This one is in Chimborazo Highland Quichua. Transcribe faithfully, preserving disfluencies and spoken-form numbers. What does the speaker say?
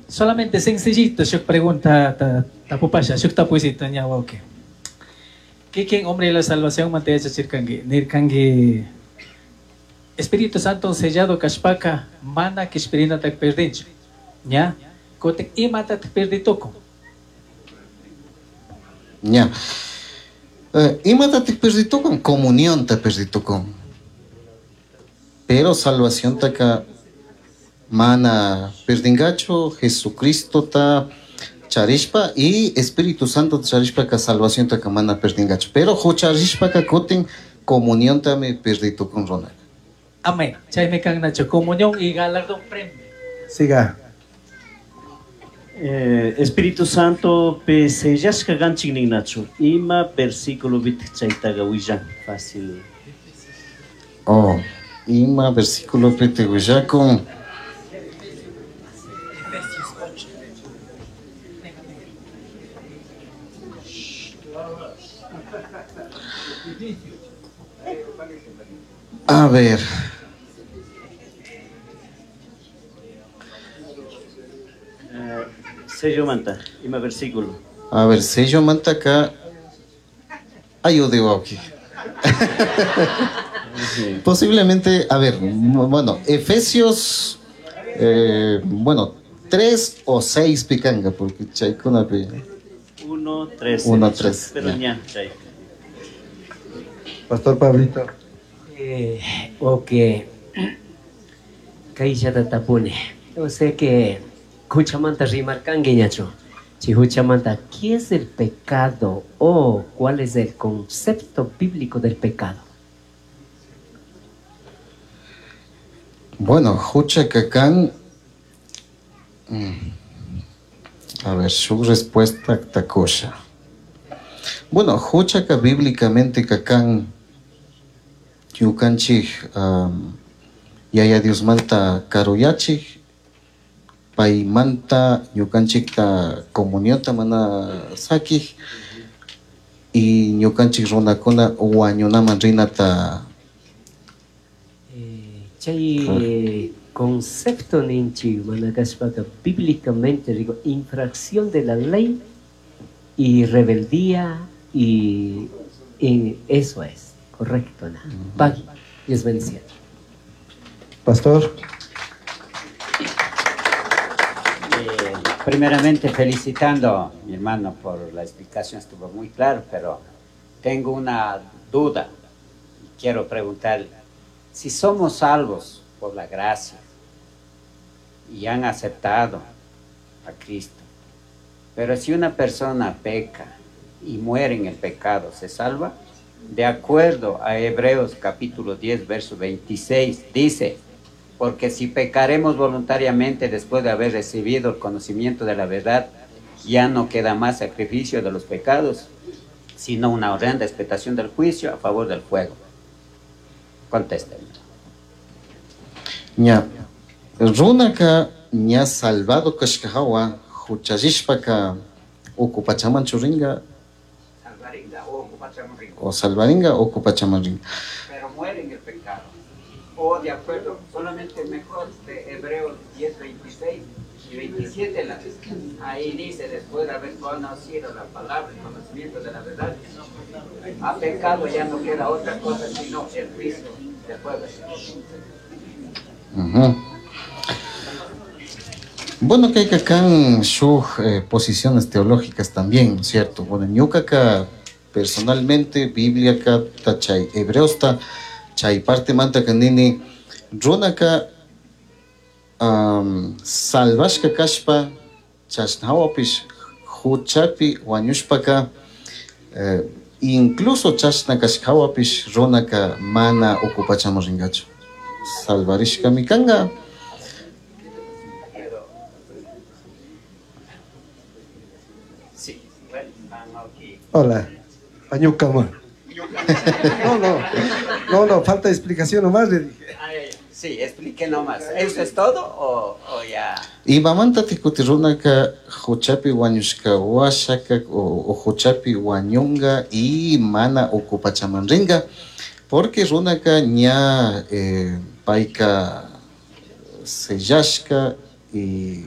Solamente sencillito, shuk pregunta ta, tapupasha, shuk tapuysito ña wawqi. Kikin hombre de la salvación manta yachachirkanki, nirkanki Espíritu Santo sellado kashpaka mana kishpirinata perdinchu. Ña, kutin imatataq perditukun? Ña. Eh, imatataq perditukun? Comunionta perditukun. Pero salvaciontaka mana perdingachu Jesucristota charishpa y Espíritu Santo charishpaka salvaciontaka mana perdingachu. Pero hucharishpaka kutin comuniontami perditukun runaka. Amén. Chaymi kan nacho comunión y galardón premio. Siga. Eh, Espíritu Santo pe sellashka kanchik ninnachu. Ima versículo pitaq chaytaqa willan fácil. Oh, ima versículo pitaq willakun. A ver. Eh, sello manta, ima versículo. A ver, sello manta acá. Ayude, aquí. Posiblemente, a ver, bueno, Efesios, eh, bueno, tres o seis picanga, porque chaykuna pi. Uno, tres. Uno, tres, Pero ya. ña, chay. Pastor Pablito. Eh, ok. Kayllata tapuni. O sea que huchamanta rimarkanki ñachu. Si huchamanta, ¿qué es el pecado o cuál es el concepto bíblico del pecado? Bueno, hucha kakan. A ver, su respuesta takusha. Bueno, huchaka bíblicamente kakan ñukanchik um, Yaya Diosmanta karuyachik, paymanta ñukanchikta comunionta mana sakik y ñukanchik runakuna wañunaman rinata. Eh, chay concepto ninchi mana kashpaka bíblicamente digo infracción de la ley y rebeldía y, y eso es correcto, ¿no? Pagui, Dios bendiga. Pastor. Eh, primeramente felicitando a mi hermano por la explicación, estuvo muy claro, pero tengo una duda y quiero preguntarle, si somos salvos por la gracia y han aceptado a Cristo, pero si una persona peca y muere en el pecado, ¿se salva? De acuerdo a Hebreos capítulo diez, verso veintiséis, dice, porque si pecaremos voluntariamente después de haber recibido el conocimiento de la verdad, ya no queda más sacrificio de los pecados, sino una horrenda expectación del juicio a favor del fuego. Contéstenme. Ña, runaka ña salvado kashkahawa, huchallishpaka uku pachaman churinga. Salvaringa o uku pachaman ringa. O salvaringa o uku pachaman ringa. Pero muere en el pecado. O de acuerdo, solamente mejor de Hebreos diez, veintiséis y veintisiete, la, ahí dice, después de haber conocido la palabra, el conocimiento de la verdad, a pecado ya no queda otra cosa sino el juicio del pueblo. Ujú. Bueno, que hay que acá en sus, eh, posiciones teológicas también, ¿no es cierto? Bueno, ñuka personalmente, Biblia acá, tachay, Hebreos ta, chay parte manta kanini, runaka, um, salvashka kashpa, chashnawapish, huchapi, wañushpaka, eh, incluso chashna kashkawapish, runaka mana uku pachaman ringachu. Salvarishka mikanga. Sí, bueno, aquí. Hola, Pañucama. No, no, no, no, falta explicación nomás, le dije. Ay, sí, explique nomás. ¿Eso es todo o, o ya? Y mamanta tikuti runaka huchapi wañushka washaka o, o huchapi wañunga y mana uku pachaman ringa, porque runaka ña, eh, paika sellashka y